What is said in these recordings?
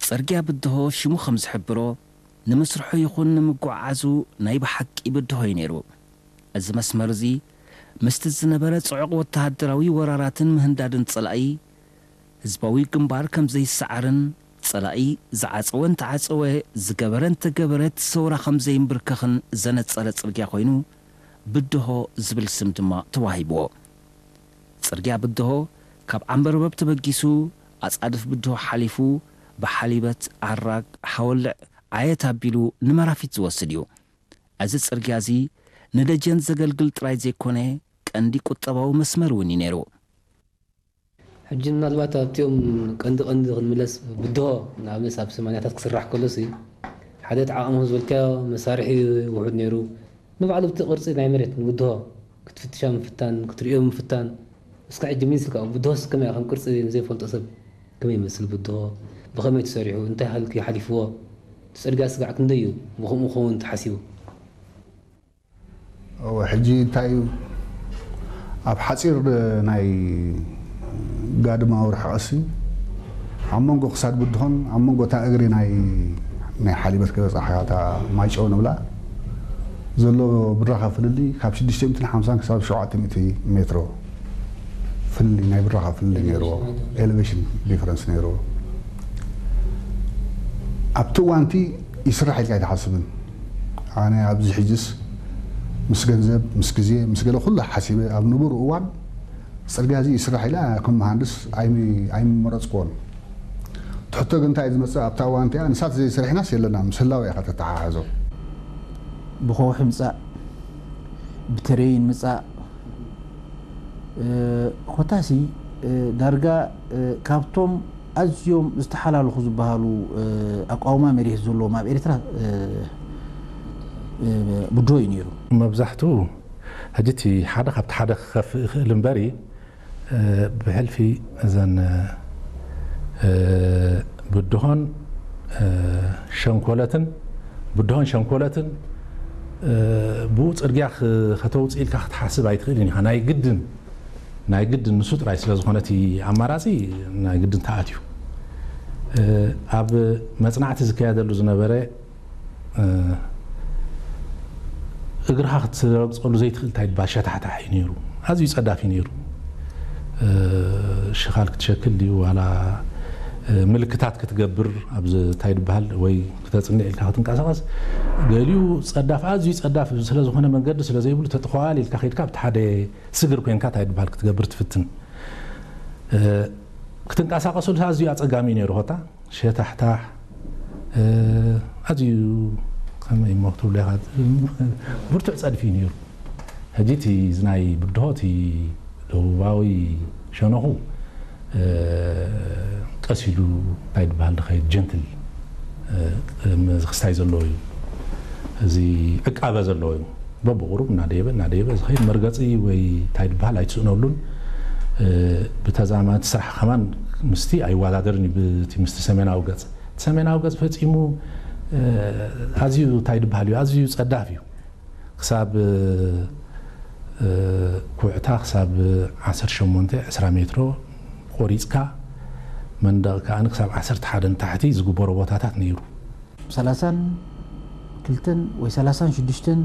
ጽርግያ ብድሆ ሽሙ ከም ዝሕብሮ፣ ንምስርሑ ይኹን ንምጉዕዓዙ ናይ ብሓቂ ብድሆ እዩ ነይሩ። እዚ መስመር እዚ ምስቲ ዝነበረ ጽዑቕ ወተሃደራዊ ወራራትን ምህንዳድን ጸላኢ፣ ህዝባዊ ግንባር ከም ዘይሰዓርን ጸላኢ ዝዓጸወ እንተዓጸወ፣ ዝገበረ እንተገበረ እቲ ሰውራ ከም ዘይንብርከኽን ዘነጸረ ጽርግያ ኮይኑ፣ ብድሆ ዝብል ስም ድማ ተዋሂብዎ። ጽርግያ ብድሆ ካብ ዓምበርበብ ተበጊሱ፣ ኣጻድፍ ብድሆ ሓሊፉ፣ ብሓሊበት፣ ኣራግ፣ ሓወልዕ፣ ዓየት ኣቢሉ ንመራፊት ዝወስድ እዩ። እዚ ጽርግያ እዚ ንደጀን ዘገልግል ጥራይ ዘይኮነ፣ ቀንዲ ቁጠባዊ መስመር እውን እዩ ነይሩ። ሕጂ ምናልባት ኣብቲኦም ቀንዲ ቀንዲ ክንምለስ፣ ብድሆ ንኣብነት ኣብ ሰማንያታት ክስራሕ ከሎሲ፣ ሓደ እቲ ዓቕሚ ዝበልካዮ መሳርሒ ውሑድ ነይሩ። ንባዕሉ እቲ ቅርጺ ናይ መሬት ንብድሆ ክትፍትሻ ምፍታን፣ ክትርእዮ ምፍታን። እስከ ሕጂ ሚኒስትር ካብ ብድሆስ ከመይ ከም ቅርጺ ንዘይፈልጦ ሰብ ከመይ ይመስል ብድሆ? ብኸመይ ተሰሪሑ? እንታይ ሃልኪ ሓሊፍዎ? እቲ ጽርግያ ስጋዕ ክንደይ እዩ ብኸምኡ ክኸውን ተሓሲቡ? እወ፣ ሕጂ እንታይ እዩ፣ ኣብ ሓጺር ናይ ጋድማዊ ርሕቐትሲ ኣብ መንጎ ክሳድ ብድሆን ኣብ መንጎ እታ እግሪ ናይ ናይ ሓሊበት ክበጻሕ እታ ማይጨው ንብላ ዘሎ ብራኸ ፍልልይ ካብ ሽዱሽተ ሚእትን ሓምሳን ክሳብ ሸውዓተ ሚእቲ ሜትሮ ፍልልይ፣ ናይ ብራኸ ፍልልይ ነይርዎ፣ ኤሌቬሽን ዲፈረንስ ነይርዎ። ኣብቲ እዋንቲ ይስራሕ ኢልካ ኣይትሓስብን። ኣነ ኣብዚ ሕጅስ ምስ ገንዘብ፣ ምስ ግዜ፣ ምስ ገለ ኩሉ ሓሲበ ኣብ ንቡር እዋን ጽርግያ እዚ ይስራሕ ኢለ ከም መሃንድስ ኣይሚ- ኣይምመረጽክዎን። እቲ ሕቶ ግን እንታይ እዩ ዝመጽእ ኣብታ እዋን እቲኣ ንሳ ተዘይሰሪሕናስ የለና ምስ ህላወ ኢኻ ተተሓሕዞ። ብኸውሒ ምጻእ ብተረይን ምጻእ ኮታሲ ዳርጋ ካብቶም ኣዝዮም ዝተሓላለኹ ዝበሃሉ ኣቋውማ መሬት ዘለዎም ኣብ ኤርትራ ብድሆ እዩ ነይሩ። መብዛሕትኡ ሕጂ እቲ ሓደ ካብቲ ሓደ ክኸፍእ ይኽእል እምበሪ ብሕልፊ እዘን ብድሆን ሸንኮለትን ብድሆን ሸንኮለትን ብኡ ጽርግያ ከተውፅእ ኢልካ ክትሓስብ ኣይትኽእልን ኢኻ። ናይ ግድን ናይ ግድን ንሱ ጥራይ ስለ ዝኾነ እቲ ኣማራፂ ናይ ግድን ተኣትዩ። ኣብ መፅናዕቲ ዝካየደሉ ዝነበረ እግርኻ ክትረግፀሉ ዘይትኽእል እንታይ ድባል ሸታሕታሕ እዩ ነይሩ። ኣዝዩ ጸዳፍ እዩ ነይሩ። ሽኻል ክትሸክል ድዩ ዋላ ምልክታት ክትገብር ኣብዚ እንታይ ድበሃል ወይ ክተጽንዕ ኢልካ ክትንቀሳቐስ ገሊኡ ጸዳፍ ኣዝዩ ጸዳፍ ስለ ዝኾነ መንገዲ ስለ ዘይብሉ ተጥኸዋል ኢልካ ከይድካ ኣብቲ ሓደ ስግር ኮንካ እንታይ ድበሃል ክትገብር ትፍትን ክትንቀሳቐሰሉ ኣዝዩ ኣጸጋሚ እዩ ነይሩ ኾታ ሸታሕታሕ ኣዝዩ ከመይ እሞ ክትብሎ ኢኻ ብርቱዕ ጸድፊ እዩ ነይሩ። ሕጂ እቲ እዚ ናይ ብድሆ እቲ ደቡባዊ ሸነኹ ቀስ ኢሉ እንታይ ድበሃል ድኸይድ ጀንትል ክስታይ ዘለዎ እዩ። እዚ ዕቃበ ዘለዎ እዩ። በብቑሩብ እናደየበ እናደየበ ዝኸይድ መርገፂ ወይ እንታይ ድበሃል ኣይትስእነሉን። ብተዛማዲ ስራሕ ከማን ምስቲ ኣይወዳደርን እዩ ምስቲ ሰሜናዊ ገፅ። እቲ ሰሜናዊ ገፅ ፈፂሙ ኣዝዩ እንታይ ድበሃል እዩ ኣዝዩ ፀዳፍ እዩ። ክሳብ ኩዕታ ክሳብ ዓሰርተ ሸሞንተ ዕስራ ሜትሮ ቆሪፅካ መንደቕ ከኣ ክሳብ ዓሰርተ ሓደ ንታሕቲ ዝግበሮ ቦታታት ነይሩ። ሰላሳን ክልተን ወይ ሰላሳን ሽዱሽተን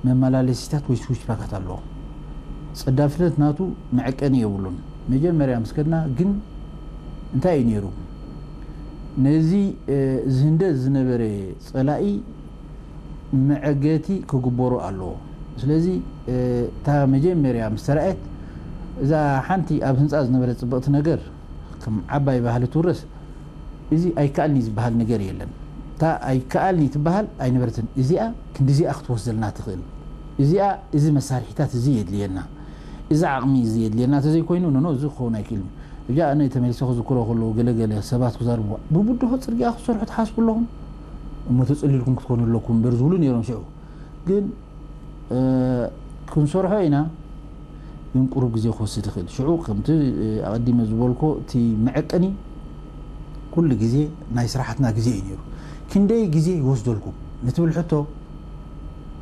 መመላለሲታት ወይ ስዊች ፓካት ኣለዎ። ጸዳፍነት ናቱ መዐቀኒ የብሉን። መጀመርያ ምስ ከድና ግን እንታይ እዩ ነይሩ? ነዚ ዝህንደድ ዝነበረ ጸላኢ መዐገቲ ክግበሮ ኣለዎ። ስለዚ እታ መጀመርያ ምስ ተራእየት እዛ ሓንቲ ኣብ ህንጻ ዝነበረት ጽብቕቲ ነገር ከም ዓባይ ባህሊ ትውረስ እዚ ኣይከኣልኒ ዝበሃል ነገር የለን። እታ ኣይከኣልኒ ትበሃል ኣይነበረትን። እዚኣ ክንዲዚኣ ክትወስድ ዘለና ትኽእል። እዚኣ እዚ መሳርሒታት እዚ የድልየና። እዚ ዓቕሚ እዚ የድልየና ተዘይኮይኑ ኖኖ እዚ ክኸውን ኣይክእልን። እጃ ኣነ ተመሊሰ ክዝክሮ ከለዉ ገለገለ ሰባት ክዛርቡ ብብድሆ ጽርግያ ክትሰርሑ ትሓስቡ ኣለኹም እሞ ተጸሊልኩም ክትኮኑ ኣለኩም እምበር ዝብሉ ነይሮም ሽዑ። ግን ክንሰርሖ ኢና ግን ቁሩብ ግዜ ክወስድ ይኽእል። ሽዑ ከምቲ ኣቐዲመ ዝበልኮ እቲ መዐቀኒ ኩሉ ግዜ ናይ ስራሓትና ግዜ እዩ ነይሩ። ክንደይ ግዜ ይወስደልኩም ንትብል ሕቶ